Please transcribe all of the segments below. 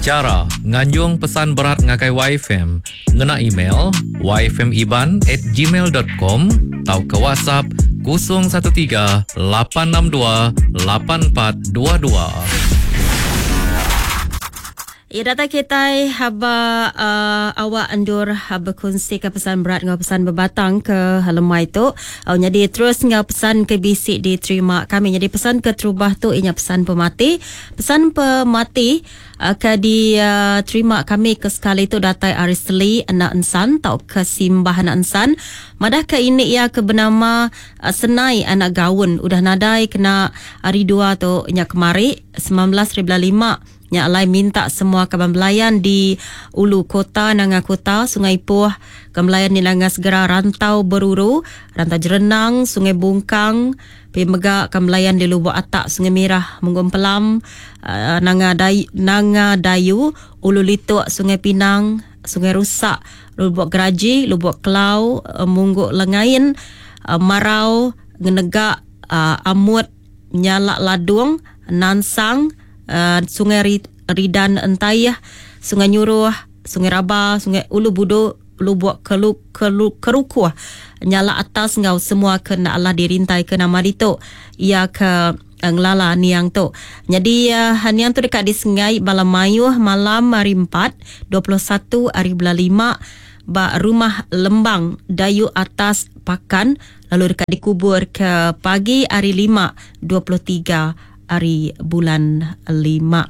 Chara nganjung pesan berat ngagai YFM ngena email yfmiban at gmail dot com tauka WhatsApp 013 862 8422. Ya datai kitai haba uh, awak endur bekunsi ke pesan berat enggau pesan bebatang ke lemai tu. Au nyadi terus enggau pesan ke bisi diterima kami. Nyadi pesan ke terubah tu inya pesan pemati. Pesan pemati uh, ke diterima kami ke sekali tu datai ari Seli Enda Ensan tauka Simbah Enda Ensan. Madah ke ini iya ke benama uh, Senai Anak Gaun udah nadai kena hari dua tu nya kemari 19.5 Nya alai minta semua kaban belayan di Ulu Kota, Nanga Kota, Sungai Ipoh, kaban belayan di Nanga Segera Rantau Beruru, Rantau Jerenang, Sungai Bungkang, pia mega kaban belayan di Lubok Atak, Sungai Mirah, Munggu Empelam, Nanga Nanga Dayu, Ulu Lituk, Sungai Pinang, Sungai Rusak, Lubok Geraji, Lubok Kelau, Munggu Lengain, Marau, Ngenegak, Amut, Nyalak Ladung, Nansang, Sungai Ridan Entaih, Sungai Nyuruh, Sungai Raba, Sungai Ulu Budu, Lubuk Kelu, Kelu, Kerukuh, Nyalak Atas enggau semua ke enda alah dirintai ke nama ditu iya ke ngelala niang tu. Nyadi niang tu deka disengai bala mayuh malam hari empat, 21 hari bulan lima ba Rumah Lembang Dayu Atas Pakan lalu deka dikubur ke pagi hari lima, 23 hari bulan lima.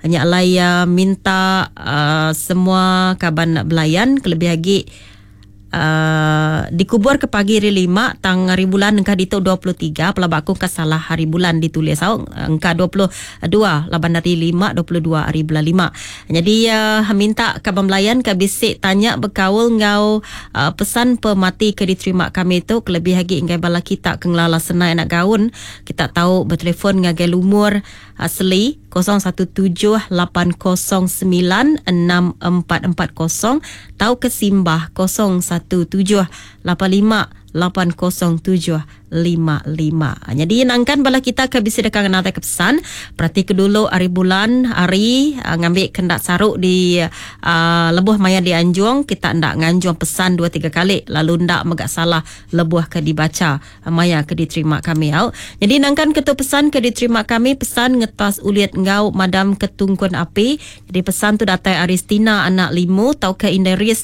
Nya alai iya minta semua kaban belayan kelebih agi dikubur ke pagi hari lima tang hari bulan engka ditu 23 pelaba aku engka salah hari bulan ditulis au engka 22 laban hari lima 22 hari bulan lima. Nyadi minta kaban belayan ke bisi tanya bekaul enggau pesan pemati ke diterima kami tu kelebih agi enggai bala kita ke ngelala senai anak gaun kita tau betelefon ngagai lumur asli 0178096440 tauka simbah 0178580755. Nyadi nangkan bala kita ke bisi deka ngenatai ke pesan, perati ke dulu ari bulan hari ngambi ke enda saru di lebuh maya dianjung kita enda nganjung pesan dua tiga kali lalu enda mega salah lebuh ke dibacha maya ke diterima kami au. Nyadi nangkan ke tu pesan ke diterima kami pesan ngetas ulit enggau madam ke tungkun api. Nyadi pesan tu datai ari Stina anak Limu tauka Indai Ris.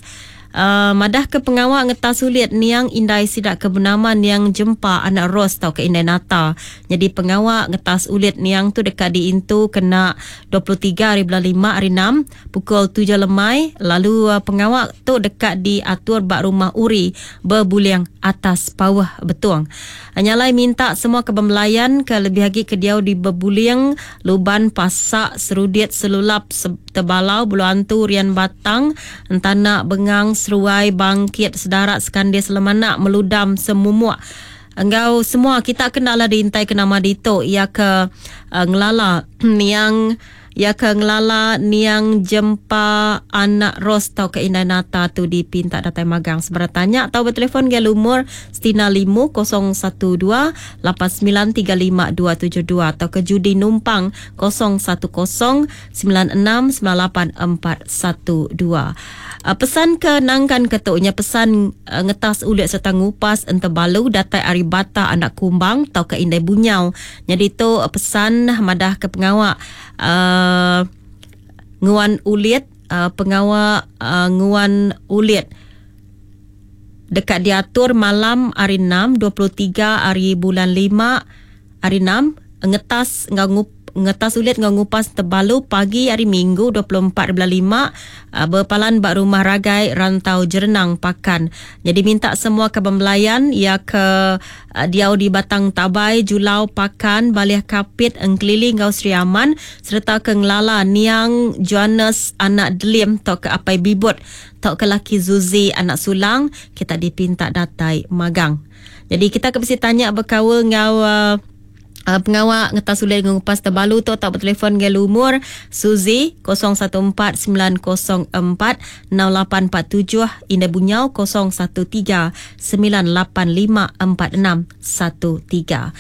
Madah ke pengawa ngetas ulit niang indai sida ke benama Niang Jempa anak Ros tauka Indai Nata. Nyadi pengawa ngetas ulit niang tu deka diintu kena 23 hari bulan lima hari enam pukul tujuh lemai lalu pengawa tu deka diatur ba Rumah Uri Bebuling Atas Pauh Betong. Nya alai minta semua ke bemelayan ke lebih agi ke diau di Bebuling, Luban, Pasak, Serudit, Selulap, Tebalau, Bulu Antu, Rian Batang, Entanak, Bengang, Seruai, Bangkit, Sedarat, Sekandis, Lemanak, Meludam, Semumuk enggau semua kita ke enda alah diintai ke nama ditu iya ke ngelala niang Iya ke ngelala niang Jempa anak Ros tauka Indai Nata tu dipinta datai magang sebera tanya tau betelefon ngagai lumur Stina Limu 012 8935 272 tauka Judi Numpang 010 96 98 412. Pesan ke nangkan ke tu nya pesan ngetas ulit sereta ngupas entebalu datai ari Bata anak Kumbang tauka Indai Bunyau. Nyadi tu pesan madah ke pengawa uh, nguan ulit uh, pengawa uh, nguan ulit deka diatur malam hari 6 23 hari bulan 5 hari 6 ngetas enggau ngup ngetas ulit enggau ngupas tebalu pagi hari Minggu 24 bulan 5 bepalan ba Rumah Ragai Rantau Jerenang Pakan. Jadi minta semua kaban belayan iya ke diau di Batang Tabai, Julau, Pakan, Balih Kapit, Engkelili enggau Sri Aman sereta ke ngelala niang Johannes anak Delim tauka Apai Bibut tauka laki Zuzi anak Sulang kita dipinta datai magang. Jadi kita ke bisi tanya bekaul enggau pengawa ngetas ulih enggau ngupas tebalu tu tau betelefon ngagai lumur Suzy 014 904 6847 Indai Bunyau 013 985 4613.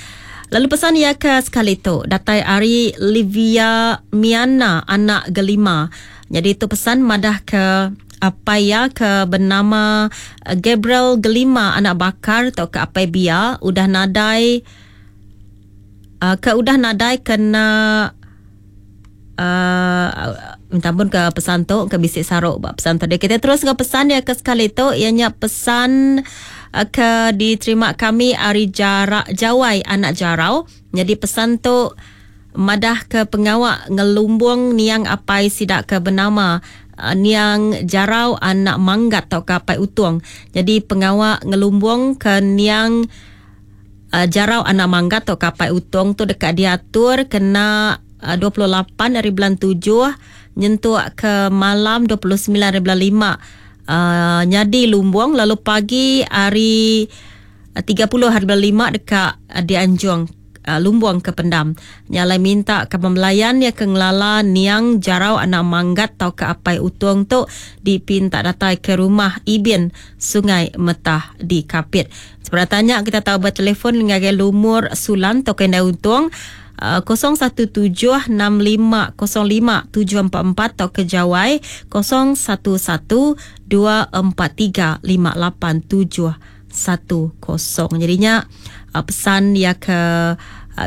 Lalu pesan iya ke sekali tu datai ari Livia Miana anak Gelima. Nyadi tu pesan madah ke apai iya ke benama Gabriel Gelima anak Bakar tauka ke apai Bia udah nadai ke udah nadai kena minta ampun ke pesan tu ke bisi saruk ba pesan tadi. Kita terus enggau pesan iya ke sekali tu iya nya pesan ke diterima kami ari Jarak Jawai anak Jarau. Nyadi pesan tu madah ke pengawa ngelumbung niang apai sida ke benama niang Jarau anak Manggat tauka apai Utung. Nyadi pengawa ngelumbung ke niang Jarau anak Manggat tauka apai Utung tu deka diatur kena 28 hari bulan 7 nyentuk ke malam 29 hari bulan 5 nyadi lumbung lalu pagi hari 30 hari bulan 5 deka dianjung lumbung ke pendam. Nya alai minta ke pembelayan iya ke ngelala niang Jarau anak Manggat tauka apai Utung tu dipinta datai ke rumah Ibin Sungai Metah di Kapit. Sebedau tanya kita tau betelefon ngagai lumur Sulan tauka Indai Untung 017 65 05 744 tauka Jawai 011 243 58 710. Jadinya pesan ya ke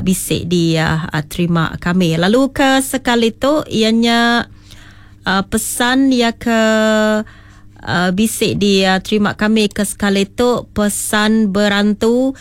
bisi diterima kami. Lalu ke sekali tu ianya pesan ya ke bisi diterima kami ke sekali tu pesan berantu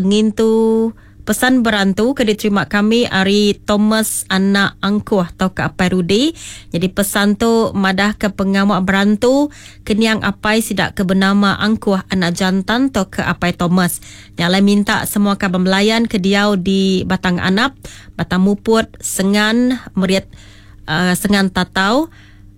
ngintu pesan berantu ke diterima kami ari Thomas anak Angkuh atau ke apai Rudi. Jadi pesan tu madah ke pengawa berantu keniang apai sidak ke bernama Angkuh anak jantan atau ke apai Thomas. Nyalai minta semua kaban belayan ke diau di Batang Anap, Batang Muput, Sengan, Meriat, Sengan Tatau,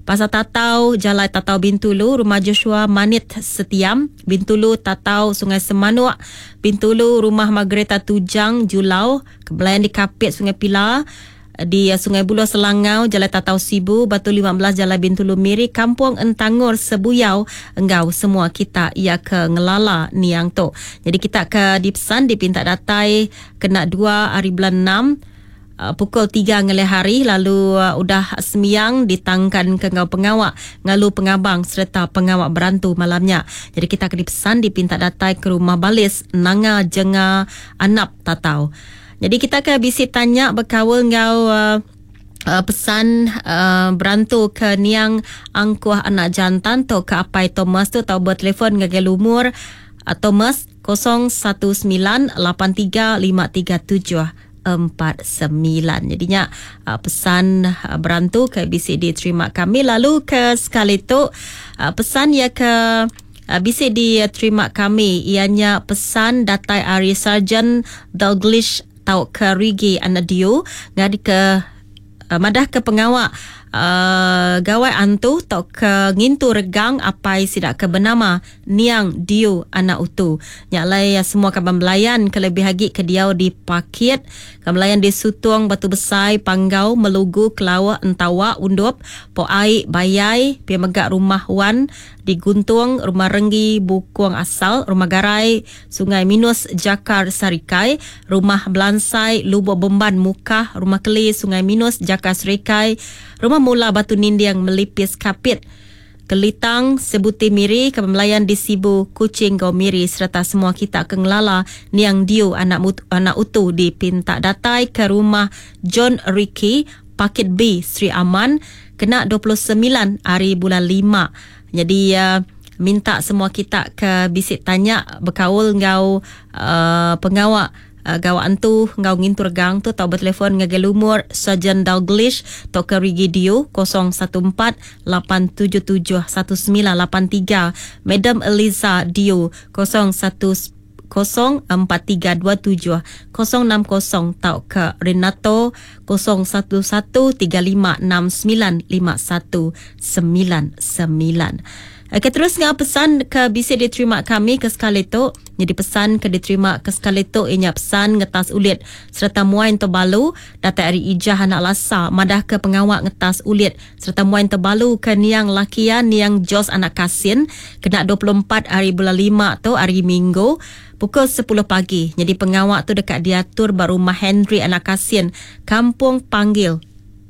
Pasar Tatau, Jalai Tatau Bintulu, Rumah Joshua Manit Setiam, Bintulu Tatau Sungai Semanuk, Bintulu Rumah Margareta Tujang Julau, Kebelayan di Kapit Sungai Pila, di Sungai Buloh Selangau, Jalai Tatau Sibu, Batu 15 Jalai Bintulu Miri, Kampung Entangor Sebuyau, enggau semua kita ia ke ngelala niang tu. Jadi kita ke dipesan dipinta datai kena 2 hari bulan 6 pukul 3 ngelih hari lalu udah semiang ditangkan ke ngau pengawak ngalu pengabang serta pengawak berantu malamnya. Jadi kita ke dipesan dipinta datai ke rumah Balis Nanga Jenga Anap Tatau. Jadi kita ke bisi tanya berkaul ngau pesan berantu ke niang Angkuh anak jantan tu ke apai Thomas tu tau bertelefon ngagai lumur Thomas 019 83 537 49. Jadinya pesan berantu ke bisi diterima kami. Lalu ke sekali tu pesan ya ke bisi diterima kami ianya pesan datai ari Sarjan Dalglish tau ke Rigi anak Diu ngadi ke madah ke pengawak gawai antu tau ke ngintu regang apai sidak ke bernama Niang Diu anak Utu. Nyalai semua kaban belayan ke lebih agi ke diau di Pakit, kaban belayan di Sutung, Batu Besai, Panggau, Melugu, Kelawak, Entawa, Undup, Po Ai, Bayai, pia mega Rumah Wan di Guntung, Rumah Renggi, Bukung Asal, Rumah Garai, Sungai Minus, Jakar, Sarikai, Rumah Belansai, Lubuk Bemban, Mukah, Rumah Keli, Sungai Minus, Jakar, Serikai, Rumah Mula, Batu Ninding, Melipis, Kapit, Kelitang, Sebuti Miri, Kebelayan di Sibu, Kuching, Gau Miri serta semua kita ke ngelala Niang Diu anak anak Utu di Pinta datai ke rumah John Ricky, Pakit B, Sri Aman, kena 29 hari bulan 5. Jadi minta semua kita ke bisi tanya berkaul ngau pengawak gawak antu ngau ngintur gang tu tau bertelefon ngagai lumur Sarjan Dalglish tau ke Rigi Diu 014 877 1983, Madam Eliza Diu 010 4327 060 tau ke Renato 011 3569 5199. Okey, terus ngah pesan ke bisa diterima kami ke sekali tu. Jadi pesan ke diterima ke sekali tu ianya pesan ngetas ulit serta muain terbalu datai ari Ijah anak Lasa madah ke pengawak ngetas ulit serta muain terbalu ke niang lakian niang Jos anak Kasin kena 24 hari bulan 5 tu hari Minggu. pukul 10 pagi. Jadi pengawak tu dekat diatur ba rumah Henry Anak Kasin, Kampung Panggil.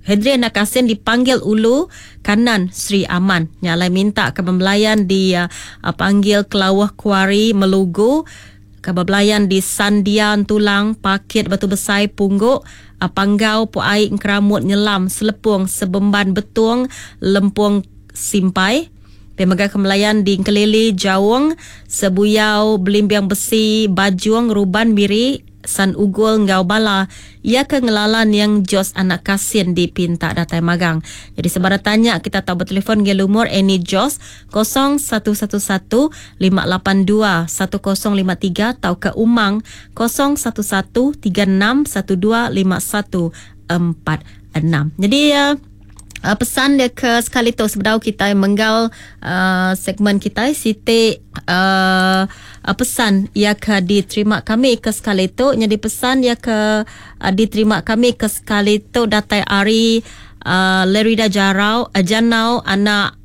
Henry Anak Kasin dipanggil Ulu Kanan Sri Aman. Nyalai minta ke pembelayan di panggil Kelawah Kuari Melugu, ke belayan di Sandian Tulang, Pakit Batu Besai Pungguk, Panggau Puai Keramut Nyelam Selepung Sebemban Betung Lempung Simpai. Pemegang kemelayan di Kelili Jaung, Sebuyau Belimbing Besi Bajung Ruban Miri San Ugul Ngau Bala ia ke ngelalan yang Jos Anak Kasin di Pinta Datai Magang. Jadi sebarang tanya kita tahu bertelefon ke lumur Annie Jos 0111 582 1053 atau ke Umang 011 3612 5146. Jadi pesan dia ke sekali tu sebedau kita menggal segmen kita Siti pesan ia ke diterima kami ke sekali tu. Jadi pesan ia ke diterima kami ke sekali tu datai ari Lerida Jarau Janau anak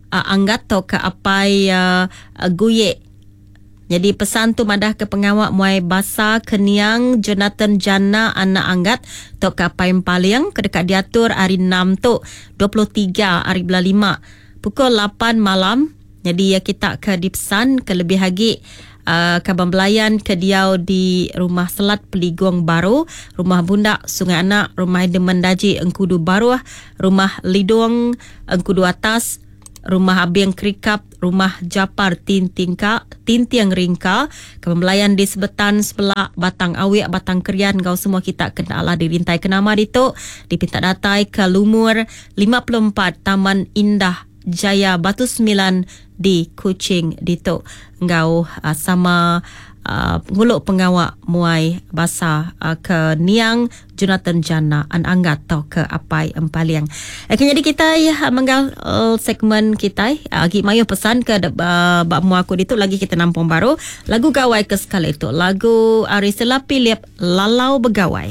anggat to ke apai Guyek. Jadi pesan tu madah ke pengawak muai basa keniang Jonathan Jana anak anggat tok ke apai Empaling ke dekat diatur hari 6 tu 23 hari bulan 5 pukul 8 malam. Jadi ya kita ke dipesan ke lebih lagi kaban belayan ke diau di Rumah Selat Peligong Baru, Rumah Bundak Sungai Anak, Rumah Demendaji Engkudu Baruh, Rumah Lidung Engkudu Atas, Rumah Abing Kerikap, Rumah Japar Tintingka, Tintiang Ringka, kebelayan di Sebetan sebelah Batang Awik, Batang Kerian, kau semua kita kena Allah dirintai ke nama ditu, dipinta datai ke Lumur 54 Taman Indah Jaya Batu 9 di Kuching ditu. Ngau sama nguluk pengawak muai basa ke Niang Jonathan Jana an anggat atau ke apai Empaling. Jadi kita ya menggal segmen kita agi mayu pesan ke bak mu aku ditu lagi kita nampung baru lagu gawai ke sekali itu lagu Ari Sela Philip Lalau Begawai.